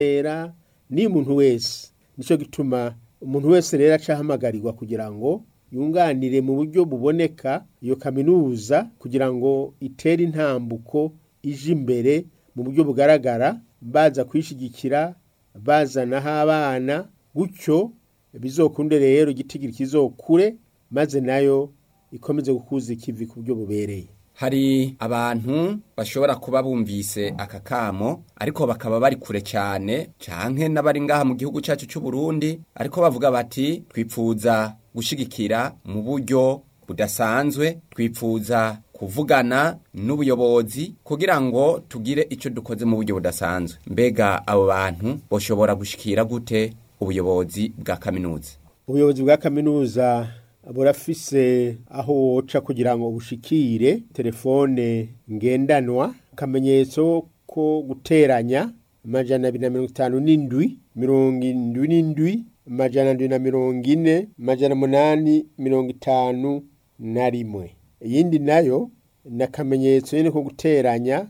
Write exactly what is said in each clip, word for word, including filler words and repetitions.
Era ni umuntu wese. Nico gituma umuntu wese rero aca ahamagarirwa kugira ngo yunganire mu buryo buboneka iyo kaminuza kugira ngo itere intambuko ije imbere mu buryo bugaragara, baza kuyishigikira, bazanaho abana, gutyo bizokunde rero igitigiri kizokure, maze nayo ikomeze gukuza ikivi ku buryo bubereye. Hari abantu bashobora kuba bumvise aka kamo ariko bakaba bari kure cyane, canke n'abari ngaha mu gihugu cyacu cy'u Burundi, ariko bavuga bati twipfuza gushigikira mu buryo budasanzwe, twipfuza kuvugana n'ubuyobozi kugira ngo tugire ico dukoze mu buryo budasanzwe. Mbega abo bantu boshobora gushikira gute ubuyobozi bwa kaminuza? Ubuyobozi bwa kaminuza burafise aho woca kugira ngo bushikire telefone ngendanwa, akamenyetso ko guteranya amajana abiri na mirongo itanu n'indwi, mirongo indwi n'indwi, amajana ndwi na mirongo ine, amajana munani mirongo itanu na rimwe. Iyindi nayo ni akamenyetso nyene ko guteranya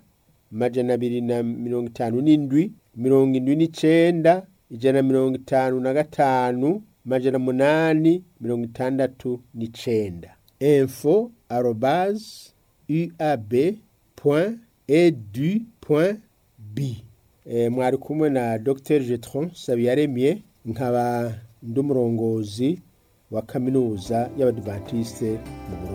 amajana abiri na mirongo itanu n'indwi, mirongo indwi n'icenda, ijana na mirongo itanu na gatanu, amajana munani mirongo itandatu n'icenda. Info arobase uab point edu point b. E, mwari kumwe na Dr Getron Sabiyaremye, nkaba ndi umurongozi wa kaminuza y'Abadivantiste mu Burundi.